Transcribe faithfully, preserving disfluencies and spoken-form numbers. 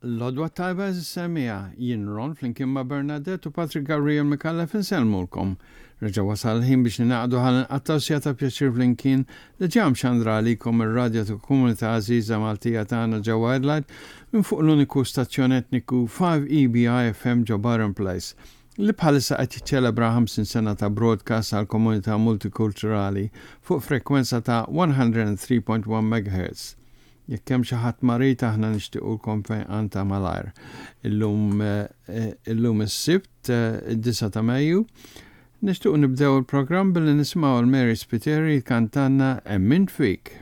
L-għodwa t-tajba, għeżież semmiegħa, jien Ron flimkien ma' Bernadette u Patrick Gabriel Micallef insellmulkom. Reġa' wasal il-ħin biex ningħaqdu ħalli nqattgħu siegħa ta' pjaċir flimkien li ġa mxandra għalikom ir-radjo ta' komunità għażiża Maltija tagħna ġewwa Adelaide minn fuq l-uniku stazzjon etniku five E B I F M ġo Byron Place, li bħalissa qed jiċċelebra ħamsin sena ta' broadcast għal komunità multikulturali fuq frekwenza ta' mija u tlieta punt wieħed megahertz. Jekk hemm xi ħadd marid, aħna nixtiequlkom fejqan ta' malajr. Illum eh, illum is-Sibt, eh, id-disgħa ta' Mejju, nixtiequ nibdew il-programm billi nisimgħu l Mary Spiteri kantanna Emmint Fik.